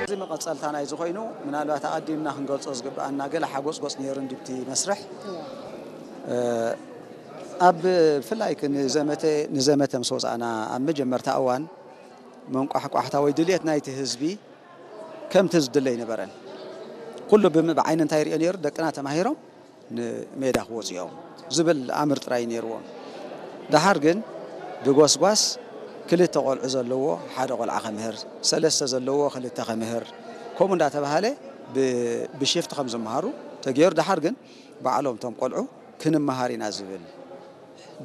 እዚ መቐጸልታ ናይዚ ኮይኑ፣ ምናልባት ኣቐዲምና ክንገልጾ ዝግብኣና ገለ ሓጎጽጎጽ ነይሩ እንድብቲ መስርሕ። እ፣ ኣብ ብፍላይ ክ-፣ ንዘመተ፣ ንዘመተ ምስ ወጻእና ኣብ መጀመርታ እዋን መንቋሕቋሕታ ወይ ድልየት ናይቲ ህዝቢ ከምቲ ዝድለ ኣይነበረን። ኩሉ ብም-፣ ብዓይኒ እንታይ ይሪኦ ነይሩ? ደቅና ተማሂሮም ንሜዳ ክወፁ እዮም ዝብል ኣምር ጥራይ ነይርዎም። ደሓር ግን ብጎስጓስ ክልተ ቆልዑ ዘለዎ ሓደ ቆልዓ ከምህር፣ ሰለስተ ዘለዎ ክልተ ከምህር፣ ከምኡ እንዳተባሃለ ብ-፣ ብሽፍት ከም ዝመሃሩ ተገይሩ። ደሓር ግን ባዕሎም እቶም ቆልዑ ክንመሃር ኢና ዝብል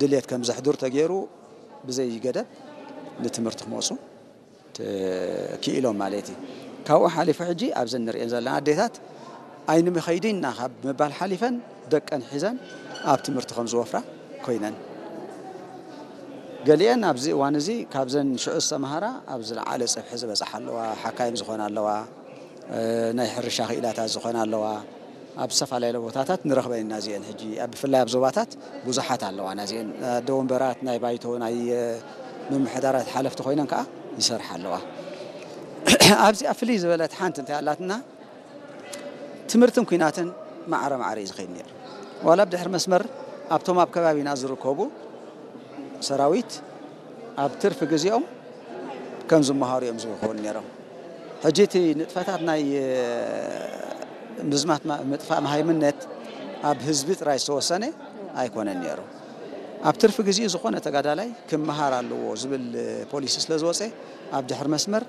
ድሌት ከም ዘሕድሩ ተገይሩ ብዘይ ገደብ ንትምህርቲ ክመፁ ተ-፣ ክኢሎም ማለት እዩ። ካብኡ ሓሊፉ ሕጂ ኣብዘን ንሪኤን ዘለና ኣዴታት ኣይንምኸይድና ካብ ምባል ሓሊፈን ደቀን ሒዘን ኣብ ትምህርቲ ከም ዝወፍራ ኮይነን። ገሊአን ኣብዚ እዋን እዚ ካብዘን ሽዑ ዝተምሃራ ኣብ ዝለዓለ ጽፍሒ ዝበጽሓ ኣለዋ፣ ሓካይም ዝኾና ኣለዋ፣ እ፣ ናይ ሕርሻ ክኢላታት ዝኾና ኣለዋ። ኣብ ዝተፈላለዩ ቦታታት ንረኽበን ኢና እዚአን። ሕጂ ኣብ፣ ብፍላይ ኣብ ዞባታት ብዙሓት ኣለዋ። ናዚአን ኣደ ወንበራት ናይ ባይቶ ናይ፣ እ፣ ምምሕዳራት ሓለፍቲ ኮይነን ከዓ ይሰርሓ ኣለዋ። ኣብዚኣ ፍልይ ዝበለት ሓንቲ እንታይ ኣላትና? ትምህርትን ኲናትን ማዕረ ማዕረ እዩ ዝኸይድ ነይሩ። ዋላ ኣብ ድሕሪ መስመር ኣብቶም ኣብ ከባቢና ዝርከቡ ሰራዊት ኣብ ትርፊ ግዜኦም ከም ዝመሃሩ እዮም ዝኸውን ነይሮም። ሕጂ እቲ ንጥፈታት ናይ፣ እ፣ ምዝማት ማ-፣ ምጥፋእ መሃይምነት ኣብ ህዝቢ ጥራይ ዝተወሰነ ኣይኮነን ነይሩ። ኣብ ትርፊ ግዜኡ ዝኾነ ተጋዳላይ ክመሃር ኣለዎ ዝብል፣ እ፣ ፖሊሲ ስለ ዝወፀ ኣብ ድሕሪ መስመር፣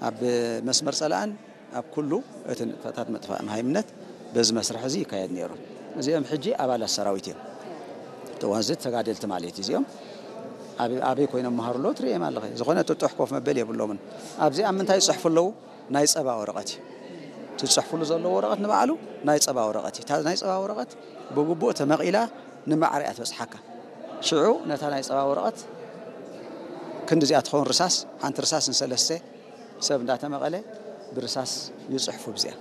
ኣብ መስመር ጸላእን ኣብ ኩሉ እቲ ንጥፈታት ምጥፋእ መሃይምነት በዚ መስርሕ እዚ ይካየድ ነይሩ። እዚኦም ሕጂ ኣባላት ሰራዊት እዮም። እቲ ዋንዝት ተጋደልቲ ማለት እዩ። እዚኦም ኣበይ፣ ኣበይ ኮይኖም መሃሩ ኣለዉ ትርእዮም ኣለኺ። ዝኾነ ጥጡሕ ኮፍ መበል የብሎምን። ኣብዚ ኣብ ምንታይ ይጽሕፉ ኣለዉ? ናይ ጸባ ወረቐት እዩ። ትጽሕፉሉ ዘለዉ ወረቐት ንባዕሉ ናይ ጸባ ወረቐት እዩ። እታ ናይ ጸባ ወረቐት ብግቡእ ተመቒላ ንማዕረ እያ ትበጽሓካ። ሽዑ ነታ ናይ ጸባ ወረቐት ክንዲ እዚኣ ትኸውን ርሳስ፣ ሓንቲ ርሳስ ንሰለስተ ሰብ እንዳተመቐለ ብርሳስ ይጽሕፉ ብዚኣ።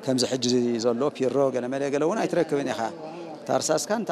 ከምዚ ሕጂ ዘሎ ፒሮ ገለመለ ገለ እውን ኣይትረክብን ኢኻ። እታ ርሳስካ እንታ